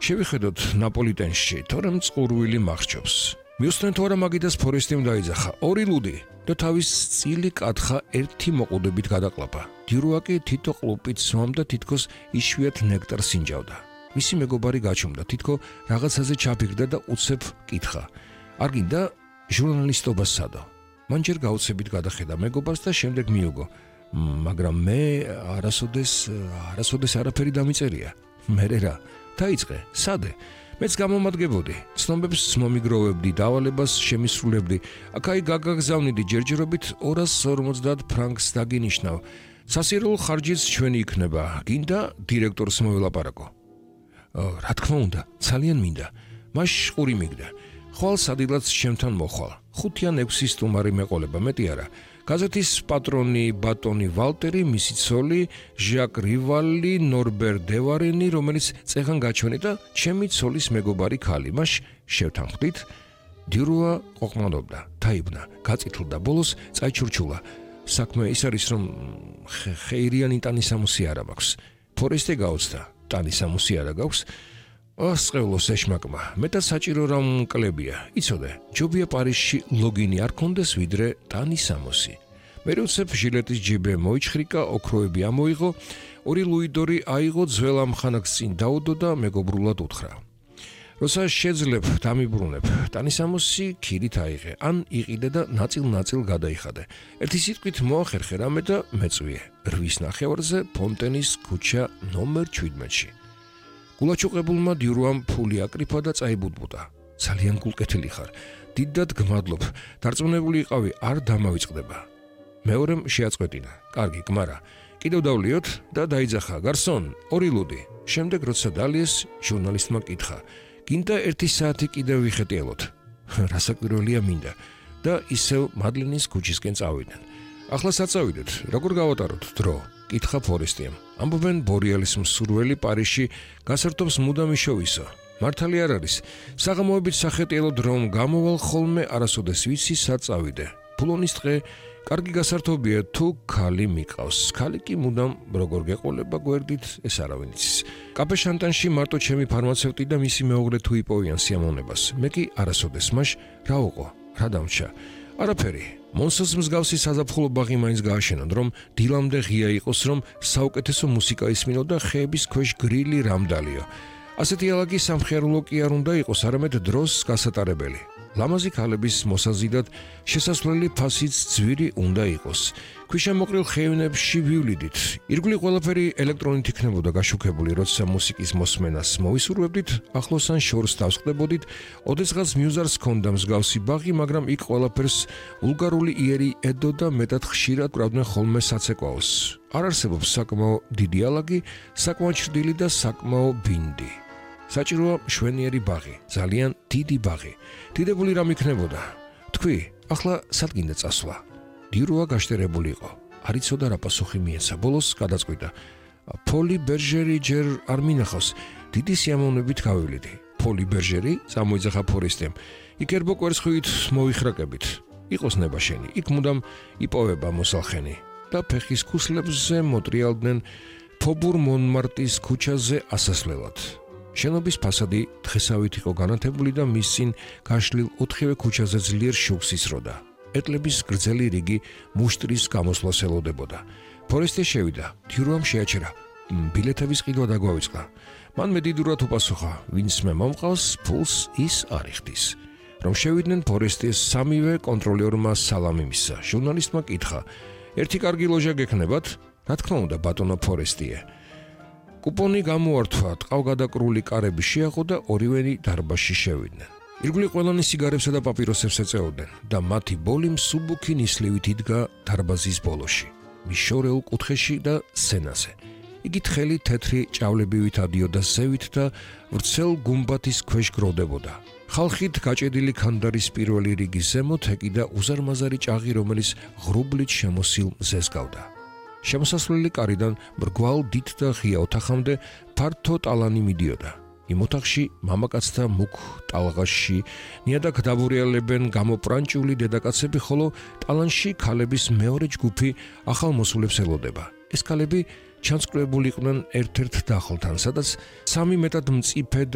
შევიხედოთ ნაპოლიტენში, თორემ წყურვილი მახრჩობს. მიუსწრენ თუ არა მაგიდას ფორესტიმ დაიძახა 2 ლუდი და თავის წილი კათხა ერთი მოყუდებით გადაყლაპა. დირუაკი თითო ყლუპით სვამდა თითქოს იშვიათ ნექტარს ინჯავდა. მისი მეგობარი გაჩუმდა, თითქო რაღაცაზე ჩაფიქრდა და უცებ კითხა. არ გინდა ჟურნალისტობა სადო. მან ჯერ გაუცებით გადახედა მეგობარს და შემდეგ მიუგო. მაგრამ მე არასოდეს არაფერი დამიწერია. მერე რა, დაიწყე, სადე? მეც გამომადგებოდი, ცნობებს მომიგროვებდი, დავალებას შემისრულებდი, აქ-აი გაგაგზავნიდი ჯერჯერობით 250 ფრანკს დაგინიშნავ. სასირულო ხარჯიც ჩვენი იქნება, გინდა დირექტორს მოველაპარაკო. რა თქმა უნდა, ძალიან მინდა. მას ყური მიგდა. ხვალ სადილაც ჩემთან მოხვალ. 5 ან 6 სტუმარი მეყოლება, მეტი არა. გაზეთის პატრონი ბატონი ვალტერი, მისი ცოლი ჟაკ რივალი, ნორბერ დევარენი, რომელიც წეღან გაჩვენე და ჩემი ცოლის მეგობარი ქალი. მას შევთანხმდით, დირუა ყოყმადობდა, დაიბნა, გაწითლდა, ბოლოს წაიჩურჩულა. საქმე ის არის, რომ ხეირიანი ტანისამოსი არ მაქვს. ფორესტე გაუცდა, ტანისამოსი არ გაქვს. ასწავლოს ეშმაკმა, მეტად საჭირო რომ კლებია. იცოდე, ჯობია პარიზში ლოგინი არ კონდეს ვიდრე ტანისამოსი. მე უცებ ჟილეტის ჯიბე მოიჩხრიკა, ოქროები ამოიღო, 2 ლუიდორი აიღო, ძველ ამხანაგს წინ დაუდო და მეგობრულად უთხრა. როცა შეძლებ დამიბრუნებ, ტანისამოსი ქირით აიღე, ან იყიდე და ნაწილ-ნაწილ გადაიხადე. ერთი სიტყვით მოახერხე რამე და მეწვიე. 8 ნახევარზე ფონტენის ქუჩა ნომერ 17-ში. გულაჩუყებულმა დიურუამ ფული აკრიფა და წაიბუდბუდა. ძალიან გულკეთილი ხარ. დიდად გმადლობ. დარწმუნებული იყავი, არ დამავიწყდება. მეორემ შეაწყვეტინა. კარგი, გმარა. კიდევ დავლიოთ და დაიძახა. გარსონ, 2 ლუდი. შემდეგ როცა დალიეს, ჟურნალისტმა კითხა. გინდა 1 საათი კიდევ ვიხეტიელოთ. რასაკვირველია მინდა. და ისევ მადლინის ქუჩისკენ წავიდნენ. ახლა საწავიდეთ, როგორ გავატაროთ დრო? კითხა ფორესტიამ. ამბობენ ბორიალის მსურველი პარიზში გასართობს მუდამ იშოვისო. მართალი არ არის. საღამოებით სახეტიელო დრომ გამოვალ ხოლმე არასოდეს ვიცი საწავიდე. ფულონის დღე კარგი გასართობია თუ ქალი მიყავს. ქალი კი მუდამ როგორ გეყოლება გვერდით, ეს არავინ იცის. კაფე შანტანში მარტო ჩემი ფარმაცევტი და მისი მეუღლე თუ იპოვიან სიამოვნებას. მე კი არასოდეს მაშ რა უყო, რა დამჩა. არაფერი. მონსოს მსგავსი საზაფხულო ბაღი მაინც გააშენონ, რომ დილამდე ღია იყოს, რომ საუკეთესო მუსიკა ისმინო და ხეების ქვეშ გრილი რამდალიო. ასეთი ალაგი სამხიარულო კი არ უნდა იყოს, არამედ დროს გასატარებელი. ლამაზი ქალების მოსაზიდად შესასვლელი ფასიც ძვირი უნდა იყოს. ქვიშამოყრილ ხევნებში ვივლიდით. ირგვლივ ყველაფერი ელექტრონით იქნებოდა გაშუქებული, როცა მუსიკის მოსმენას მოისურვებდით, ახლოს ან შორს დავსხდებოდით, ოდესღაც მიუზარს ჰქონდა მსგავსი ბაღი, მაგრამ იქ ყველაფერს ვულგარული იერი ედო და მეტად ხშირად კრავდნენ ხოლმე საცეკვაოს. არ არსებობს საკმაო დიდი ალაგი, საკმაო ჩრდილი და საკმაო ბინდი. საჭიროა მშვენიერი ბაღი, ძალიან დიდი ბაღი. დიდებული რამ იქნებოდა. თქვი, ახლა სად გინდა წასვლა? დირუა გაშტერებული იყო. არ იცოდა რა პასუხი მიეცა. ბოლოს გადაწყვიტა. პოლი ბერჟერი ჯერ არ მინახავს. დიდი სიამოვნებით გავივლიდი. პოლი ბერჟერი წამოიძახა ფორესტემ. იქ ერბო კვერცხივით მოვიხრაკებით. იყოს ნება შენი. იქ მუდამ იპოვება მოსალხენი და ფეხის ქუსლებზე მოტრიალდნენ ფობურ მონმარტის ქუჩაზე ასასვლელად. შენობის ფასადი დღესავით იყო განათებული და მის წინ გაშლილ 4-ვე ქუჩაზე ძლიერ შუქს ისროდა. ეტლების გრძელი რიგი მუშტრის გამოსვლას ელოდებოდა. ფორესტე შევიდა, დირუამ შეაჩერა. ბილეთების ყიდვა დაგვავიწყდა. მან მედიდურად უპასუხა, ვინც მე მომყავს, ფულს ის არ იხდის. რომ შევიდნენ ფორესტეს სამივე კონტროლერმა სალამი მისცა. ჟურნალისტმა კითხა, ერთი კარგი ლოჟა გექნებათ? რა თქმა უნდა, ბატონო ფორესტიე. კუპონი გამოართვა, ტყავგადაკრული კარები შეაყო და ორივენი დარბაზში შევიდნენ. ირგვლივ ყველანი სიგარებსა და პაპიროსებს ეწეოდნენ და მათი ბოლი მსუბუქი ნისლივით იდგა დარბაზის ბოლოში, მის შორეულ კუთხეში და სცენაზე. იგი თხელი თეთრი ჭავლებივით ადიოდა ზევით და ვრცელ გუმბათის ქვეშ გროვდებოდა. ხალხით გაჭედილი ქანდარის პირველი რიგის ზემოთ ეკიდა უზარმაზარი ჭაღი, რომელიც ღრუბლით შემოსილ მზეს გავდა. შემოსასვლელი კარიდან მრგვალ დიდ და ღია ოთახამდე ფართო ტალანი მიდიოდა. იმ ოთახში მამაკაცთა მუქ ტალღაში ნიადაგ დაბურიალებენ გამოპრანჭული დედაკაცები, ხოლო ტალანში ქალების მეორე ჯგუფი ახალ მოსულებს ელოდება. ეს ქალები ჩანსკრებული იყვნენ ერთ-ერთ დახოლთან, სადაც 3 მეტად მწიფე